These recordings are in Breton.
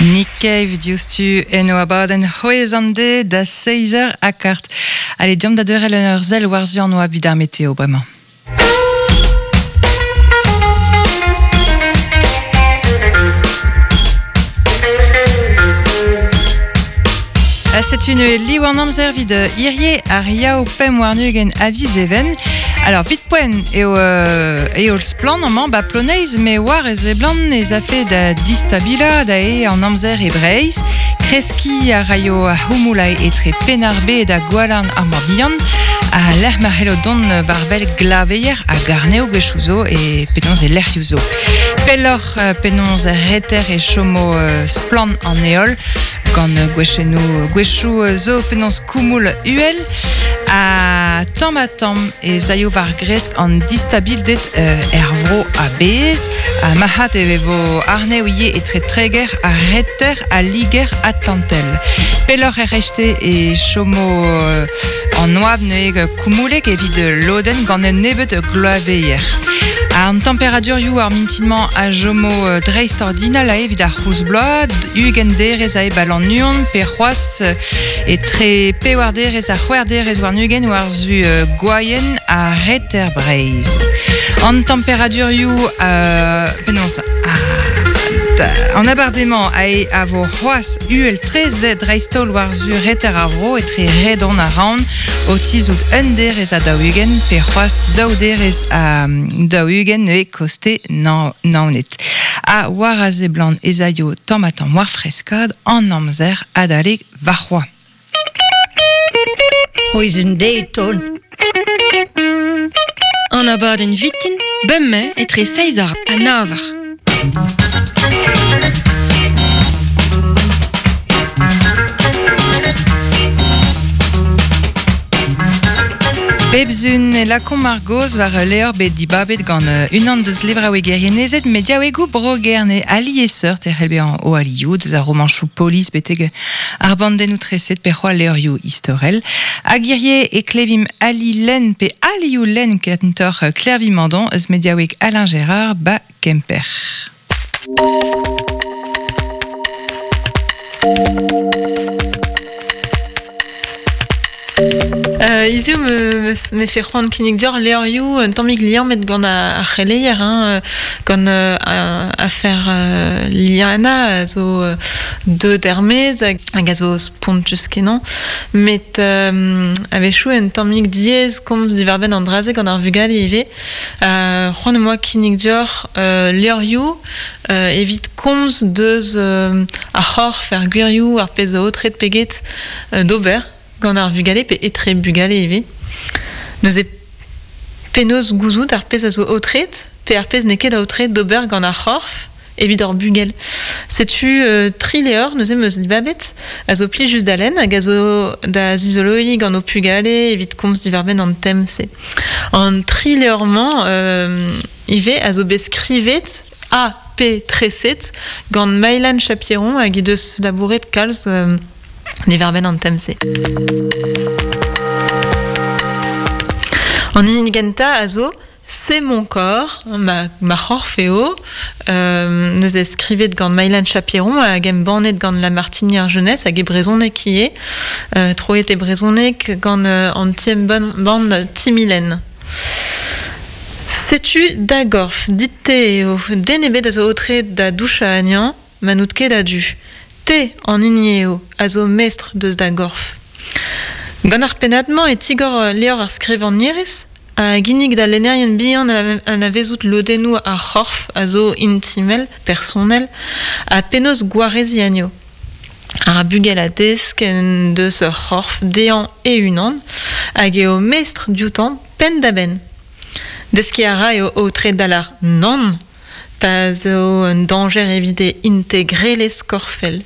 Nick Cave diouzhtu en o abadenn c'hwezh an de da seizh eur ha kart. Allez, deomp da deurel ur sell war-zu an oabl evit ar meteo bremañ. Setu neuze liv an amzer evit hirie ar Yaou 25 a viz Even. Alors, vit poent eo, eo splann amañ ba Ploneiz, me war e seblant ez afe da distabilañ da eo an amzer e Breizh. Kreskiñ a raio ar c'houmoul etre Penn-ar-Bed ha Gwalarn ar Morbihan, ha lec'h ma c'hello dont war-wel glaveier ha garnev gwechoù zo e penaos e lec'hioù zo. Pelloc'h penaos er reter e chomo splann an heol gant gwechennoù gwechoù zo penaos koumoul uhel ha tamm-ha-tamm ez aio war gresk an distabilded er vro a-bezh ha marc'had e vo arnev ivez etre Treger ha Reter ha Liger Atlantel. Pelloc'h er rechte e chomo an oabl neuze koumoulek evit lodenn gant un nebeud gloaveier. An temperadurioù ar mintin-mañ a chomo dreist-ordinal evit ar c'houlz-bloaz, 20 derez a eo Lannuon pe c'hoazh etre pevar derez ha c'hwec'h derez warn-ugent war-zu Gwaien ha Reter Breizh. An temperadurioù penaos an abardaez-mañ a, a vo c'hoazh uhel-tre dreist-holl war-zu reter ar vro etre Redon ha Raon o tizhout un derez ha 40 pe c'hoazh daou derez ha 40 neuze koste Naoned. Ha war a seblant ez aio tamm-ha-tamm war freskad an amzer adalek warc'hoazh. C'hwezh deiz ton. An abadenn vitin, bemdez etre seizh eur ha nav eur. Bep sun e lakaomp ar gaoz war ul levr bet dibabet gant unan deus levraouegerien-ezed mediaouegoù Bro-Gerne ha liesseurt e c'hell bezañ o alioù deus ar romanchoù polis betek ar bandennoù treset pe c'hoazh levrioù istorel. Hag hirie e klevimp ali lenn pe alioù lenn kentoc'h Klervi Mandon eus mediaoueg Alain Gérard ba Kemper. Hiziv me me fe c'hoant kinnig deoc'h levrioù un tammig liammet gant ar c'heleier hein, gant afer Liana a zo deuet er-maez hag a zo spontus-kenañ. Met a-wechoù un tammig diaes komz diwar-benn an dra-se gant ar vugale ivez. C'hoant am boa kinnig deoc'h levrioù evit komz deus ar c'horf, ar gwirioù, ar pezh zo aotret pe get d'ober gant ar vugale pe etre bugale ivez. Neuze penaos gouzout ar pezh a zo aotret pe ar pezh n'eo ket aotret d'ober gant ar c'horf evit hor bugel. Setu tri levr neuze 'm eus dibabet a zo plijus da lenn hag a zo da zizoloiñ gant ho pugale evit komz diwar-benn an tem-se. An tri levr-mañ ivez a zo bet skrivet ha pe treset gant Maëlan Chapieron hag he deus labouret kalz diwar-benn an tem-se. An hini gentañ a zo C'est mon corps, ma, ma c'horf eo, neuze skrivet gant Maëlan Chapieron hag embannet gant La Martinière Jeunesse hag e brezhoneg ivez, troet e brezhoneg gant an ti-embann Timilenn. Setu da gorf, dit-te eo, den ebet a zo aotreet da douchañ anezhañ ma n'out ket a-du. Te an hini eo a zo mestr deus da gorf. Gant ar pennad-mañ e tigor levr ar skrivagnerez a ginnig da lennerien bihan anavezout lodennoù ar c'horf a zo intimel, personel, ha penaos gwareziñ anezho. Ar bugel a desk en deus ur c'horf dezhañ e-unan hag eo mestr dioutañ penn-da-benn. Deskiñ a ra eo aotret da lâr nann pa zo un dañjer evit e integrelezh korfel.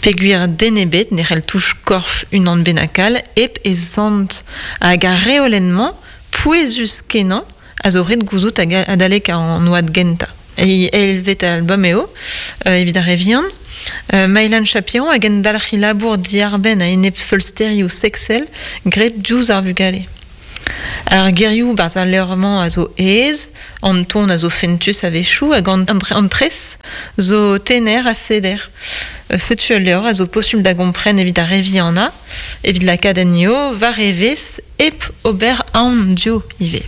Peogwir den ebet ne c'hell touch korf unan bennak all hep e sant. Hag ar reolenn-mañ, pouezus-kenañ, a zo ret gouzout adalek an oad gentañ. E eilvet album eo evit ar re vihan. Maëlan Chapiron a gendalc'h he labour diarbenn a-enep feulsterioù seksel graet diouzh ar vugale. Ar gerioù barzh al levr-mañ a zo aes, an ton a zo fentus a-wechoù hag an, an tres zo tener ha seder. Setu ul levr a zo posubl da gompren evit ar re vihanañ, evit lakaat ennio war evezh hep ober aon dio ivez.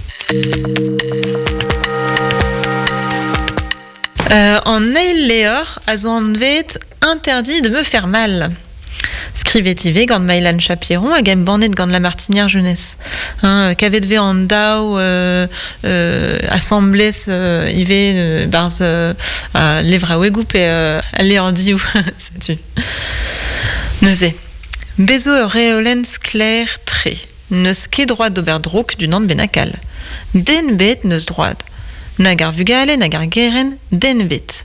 An eil levr a zo anvet Interdit de me faire mal. Skrivet ivez gant Maëlan Chapiron hag embannet gant La Martinière Jeunesse. Hein, kavet vez an daou asambles ivez barzh levraouegoù pe al levrdioù, setu. Neuze, bez zo ur reolenn sklaer-tre. N'eus ket droad d'ober drouk d'unan bennak all. Den ebet n'eus droad. Nag ar vugale nag ar gerent, den ebet.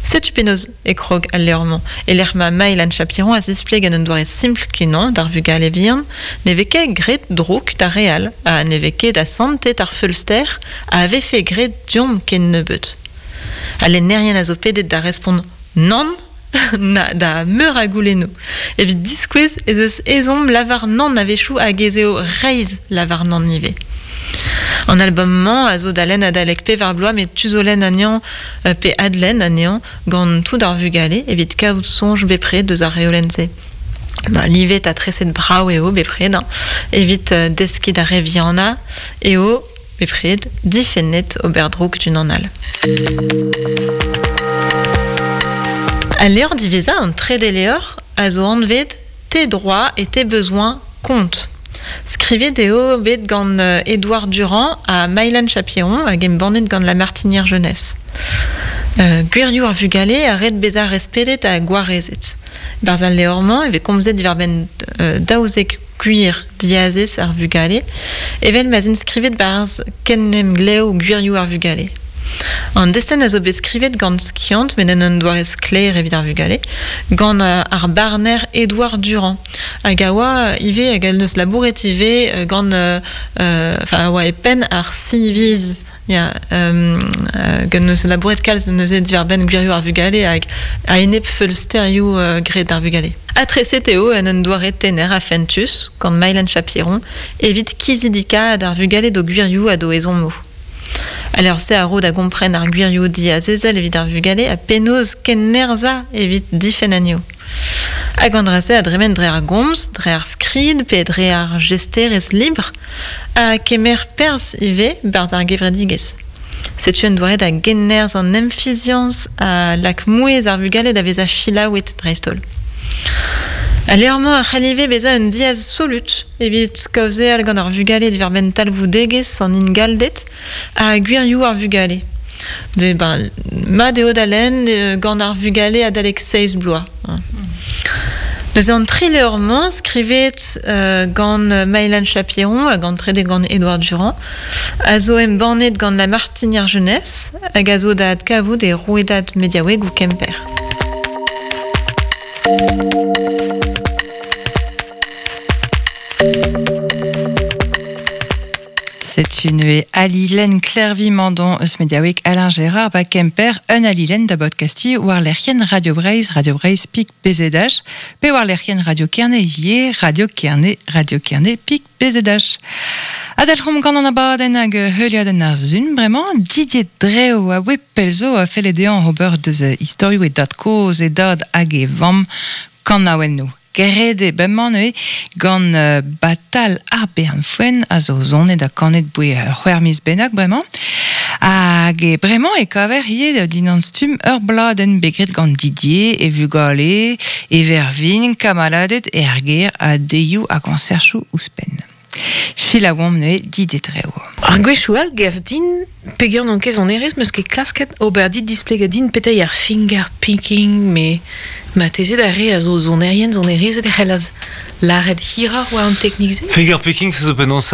Setu penaos e krog al levr-mañ, e-lec'h ma Maëlan Chapiron a zispleg en un doare simpl-kenañ d'ar vugale vihan ne vez ket graet drouk d'ar re all ha ne vez ket asantet ar feulster a vefe graet deomp ken nebeut. Al lennerien a zo pedet da respont nann na da meur a goulennoù evit diskouez ez eus ezhomm lavar nann a-wechoù hag ez eo reizh lavar nann ivez. An album-mañ a zo da lenn adalek pevar bloaz met tu zo lenn anezhañ pe adlenn anezhañ gant tout ar vugale evit kaout soñj bepred eus ar reolenn-se. Ba, livet ha treset brav eo bepred hein, evit deskiñ d'ar re vihanañ eo bepred difennet ober drouk d'unan all. Al levr diwezhañ, an trede levr, a zo anvet Tes droits et tes besoins comptent. Skrivet eo bet gant Édouard Durand ha Maëlan Chapiron hag embannet gant La Martinière Jeunesse. Gwirioù ar vugale a ret bezañ respedet ha gwarezet. Barzh al levr-mañ e vez komzet diwar-benn 12 gwir diazez ar vugale, evel ma'z int skrivet barzh Kenemglev gwirioù ar vugale. An destenn a zo bet skrivet gant skiant met en un doare sklaer evit ar vugale, gant ar barner Édouard Durand, hag a oa ivez hag en deus labouret ivez gant enfin a oa e penn ar Civiz ya gant neus labouret kalz neuze diwar-benn gwirioù ar vugale hag a-enep feulsterioù graet d'ar vugale. Ha treset eo en un doare tener ha fentus gant Maëlan Chapiron evit kizidikaat ar vugale d'o gwirioù ha d'o ezhommoù. Al levr-se a ro da gompren ar gwirioù diazezel evit ar vugale ha penaos kennerzhañ evit difenn anezho. Hag an dra-se a dremen dre ar gomz, dre ar skrid pe dre ar jesterezh libr ha kemer perzh ivez 'barzh ar gevredigezh. Setu un doare da gennerzh an emfiziañs a lak mouezh ar vugale da vezañ selaouet dreist-holl. Al levr-mañ a c'hell ivez bezañ un diaz solut evit kaozeal gant ar vugale diwar-benn talvoudegezh an ingalded ha gwirioù ar vugale. De, ben, mat eo da lenn gant ar vugale adalek seizh bloaz. Neuze an tri levr-mañ skrivet gant Maëlan Chapiron hag an trede gant Édouard Durand a zo embannet gant La Martinière Jeunesse hag a zo da adkavout e rouedad mediaouegoù Kemper. Setu neuze Alilen Klervi Mandon eus mediaoueg Alain Gérard ba Kemper, un Alilen da bodcasti war lec'hienn Radio Breizh, Radio Breizh pik BZH, pe war lec'hienn Radio Kerne ivez, Radio Kerne, Radio Kerne pik BZH. Adalc'homp gant an abadenn hag heuliadenn ar sun bremañ, Didier Dreo a oe pell zo a felle dezhañ ober deus istorioù e dad-kozh, e dad hag e vamm kanaouennoù. Graet eo bremañ neuze gant Batal ar Bern Foenn a zo sonet ha kanet boe c'hwec'h miz bennak bremañ. Hag bremañ e kaver ivez dindan stumm ur bladenn bet graet gant Didier, e vugale, e vervin, kamaladed er gêr ha deioù ha koñserchoù ouzhpenn. Selaouomp neuze Didier Dreo. Ar gwechoù all 'gav din peger n'on ket sonerezh 'meus ket klasket ober dit displegañ din petra eo ar finger picking met marteze d'ar re a zo sonerien sonerezed e c'hellaz lâret hiroc'h war an teknik-se. Finger picking se zo penaos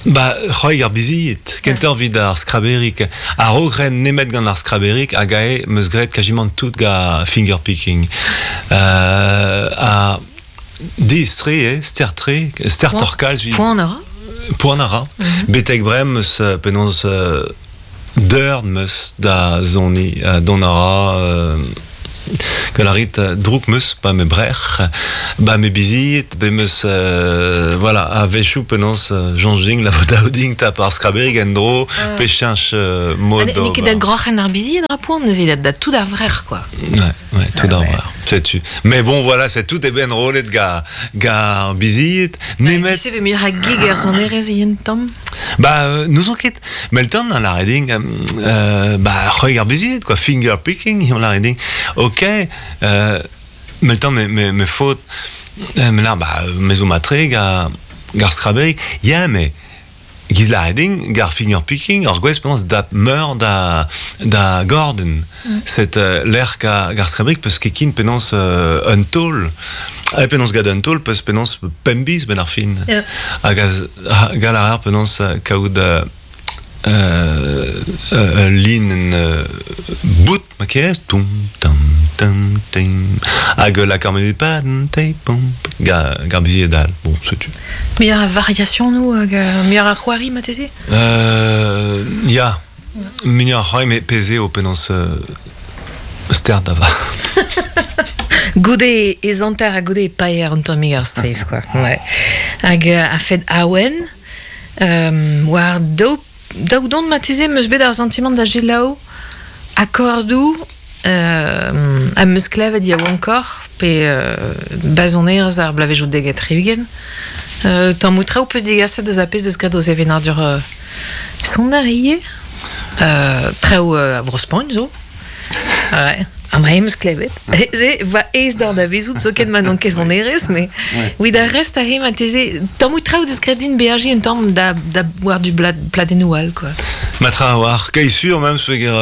ba c'hoari ar bizied kentoc'h evit ar skraberig a-raok ren nemet gant ar skraberig hag aze 'meus graet kazimant tout gant finger picking ha Diaes-tre eo, ster-tre, stertoc'h kalz. Poan a ra Poan a ra. Betek bremañ 'meus penaos deurt 'meus da soniñ. Dont a ra Gwell a rit drouk meus, ba me brec'h, ba me bizied, be meus, voilà, a-wechoù penaos soñj din la vo dav din tap ar skraberig en-dro, pe cheñch mod d'ober. N'eo ket da groc'hen ar bizied ra poan neuze, da tout ar vrec'h, quoi. Ouais, ouais, tout ar vrec'h, setu. Mais bon, voilà, c'est tout e ben enrollet ga, ga ar bizied, nemet... Se ve muioc'h a gig er sonerezh ivez un tamm? Ba, n'ouzon ket. Melton a lâre din, ba, c'hwek ar bizied, quoi, finger picking, on lâre din. Ok, Melton, me, me, me faot, me lâre, ba, me zo matre ga, gar skraberig. Ya, mais giz lâre din, gar finger picking, ur gwezh penaos dap meur da, da gorden. Set lec'h ga, gar skraberig peus ket kin penaos un taol. Ha penaos gant un taol peus penaos pemp biz ben ar fin. Yeah. Hag gall a reer penaos kaout ul linenn bout ma kerez toum tam tam tim hag la carmelita te pom ga gar bizied all bon setu. Muioc'h a variasionoù hag muioc'h a c'hoari marteze? Ya, muioc'h a c'hoari met pezh eo penaos ster da vat. Goude e zanter ha goude e paeer un tammig ar strev quoi. Ouais. Hag a-fet awen war daou daou don marteze 'm eus bet ar santimant da selaou akordoù am eus klevet yaouankoc'h pe bazonerezh ar bloavezhioù dek ha tri-ugent. Tammoù traoù 'peus degaset eus ar pezh 'deus graet o sevenadur soner ivez. Traoù a Vro-Spagn zo. Ouais. An dra em eus klevet. Se va aes d'ar da vezout zoken ma n'on ket sonerezh, mais oui, da rest aze marteze tammoù traoù deus graet din beajiñ un tamm da, da war du pladennoù all, quoi. Ma tra a-walc'h, kai sur même, peogwir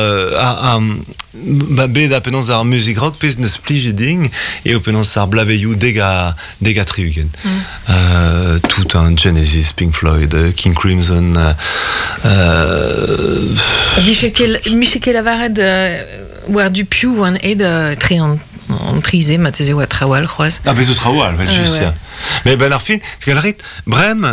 ba bet ha penaos ar muzik rock pezh neus plijet din eo penaos ar blaveioù dek ha dek ha tri-ugent. Tout un Genesis, Pink Floyd, King Crimson. Vije ket lavaret war du piv oan aet tre an tri-se, marteze oa traoù all c'hoazh. Ah, bez zo traoù all, vel-just, ya. Mais ben ar fin, rit, brem,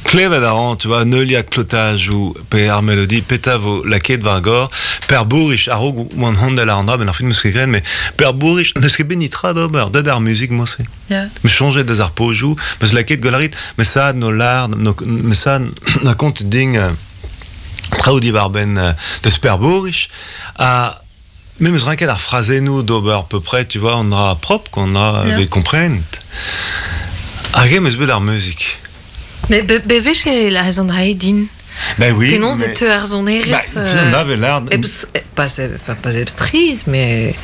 Klevet a ran, tu vois, neuliad klotajoù pe ar melodi, petra vo lakaet war gor. Per Bourich, a-raok oan hondel ar an dra, ben ar film eus ket graet, mais Per Bourich, n'eus ket bet nitra d'ober, deut ar muzik mo-se. Yeah. Me soñjet deus ar pozioù, meus lakaet gwell a rit, me sa no lard, no, me sa na kont ding traoù diwar-benn deus Per Bourich, ha me meus ranket ar frazennoù d'ober à peu près, tu vois, on dra propre, qu'on a yeah. bet komprenet. Hag em eus bet ar muzik. Mais bewech e lârez an dra din. Ben oui. Penaos e teu ar sonerezh... Bah, tu en avais l'air... Pas, enfin, pas eb striz, mais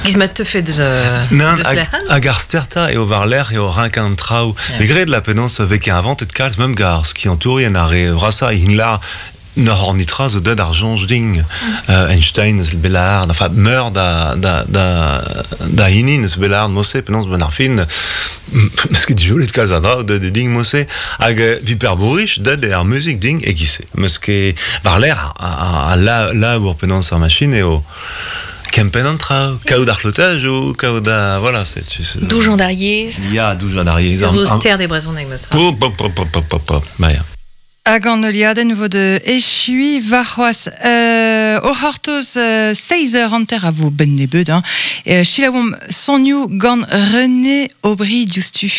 giz ma teufe deus, Nan, deus hag, hag ar sterta eo war-lerc'h eo renkañ an traoù. Yeah. Me gred la penaos vez ket inventet kalz, même gar skiantourien ar re vrasañ, hin lar N'oc'h hor nitra zo deuet ar soñj din. Einstein eus Belard, enfin meur da, da, da, da hini eus Belard Mosse, penaos ben ar fin, meus ket dijolet kalz a dra deuet din Mosse, hag vi per Bourich deuet eo ar muzik din e-giz-se. Meus ket war-lerc'h a labour penaos ar machine eo kempenn an traoù, kaout ar c'hlotajoù, kaout a voilà, c'est Doujañ d'ar yezh. Ya, doujañ d'ar yezh. Ur ster de brezhoneg meus tra. Pop, pop, pop, pop, pop, pop. Ba ya. Hag an heuliadenn vo da echuiñ warc'hoazh. O c'hortoz seizh eur hanter a vo benn nebeut. Hein. Selaouomp sonioù gant René Aubry diouzhtu.